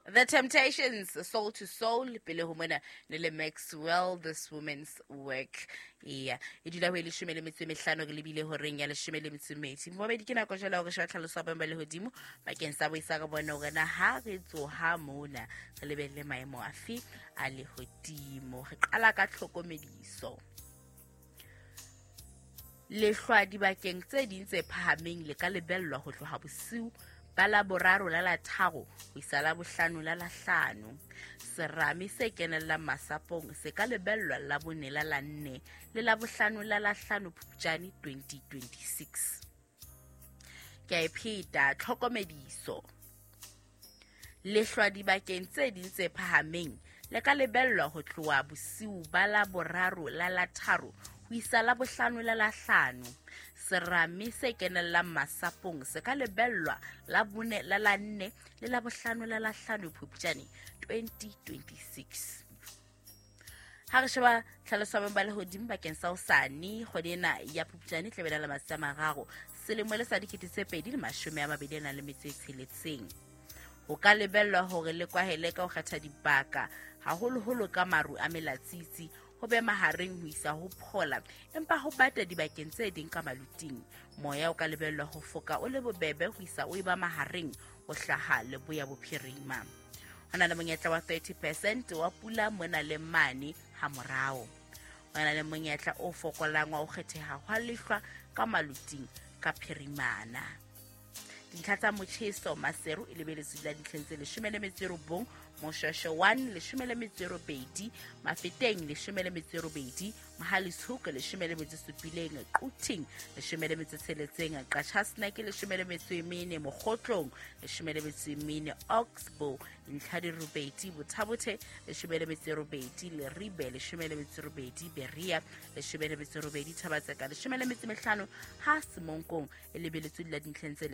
The Temptations, Soul to Soul, pele ho mona ne le Maxwell, This Woman's Work. Eya, e dula ho e 15 re lebile horeng ya 12. Mobedi ke nako jwale hore sheba tlhaloso ya boemo ba lehodimo bakeng sa boisa re bone hore na ha re tsoha mona re lebelle maemo afe a lehodimo. Re qala ka tlhokomediso. Lehlwa dibakeng tse ding tse phahameng le ka lebellwa ho tloha bosiu ba la boraro la la tharo ho isa la bohlano la la hlano. Serame se kenellang masapong se ka lebellwa la bone la la nne le la bohlano la la hlano Phupjane 2026. Ke a e pheta, tlhokomediso. Lehlwa dibakeng tse ding tse phahameng le ka lebellwa ho tloha bosiu ba la boraro la la tharo ho isa la bohlano la la hlano. Serame se kenellang masapong se ka lebellwa la bone la la nne le la bohlano la la hlano Phupjane 2026. Ha re sheba tlhaloso ya boemo ba lehodimo bakeng sa hosane, kgwedi ena ya Phupjane e tla be e na le matsatsi a mararo selemo le sa 2026. Ho ka lebellwa hore le kwahele ka ho kgetha dibaka, haholoholo ka maru a melatsitsi, ho be mahareng ho isa ho phola, empa ho bata dibakeng tse ding ka maluting. Moya o ka lebellwa ho foka o le bobebe ho isa o eba mahareng ho hlaha leboya bophirima. Ho na le monyetla wa 30% wa pula mona le mane ha morao. Ho na le monyetla o fokolang wa ho kgetheha hwa lehlwa ka maluting ka phirimana. Dintlha tsa motjheso Maseru e lebeletswe dula dintlheng tse 19, Moshweshwe 1 18, Mafeteng 18, Mohale's 17, Quthing 16, Qacha's Nek 14, Mokhotlong 14, Oxbow dintlha di robedi, Botha-Bothe 18, Leribe 18, Berea 18, Thaba-Tseka 15, ha Semonkong e lebeletswe dula dintlheng tse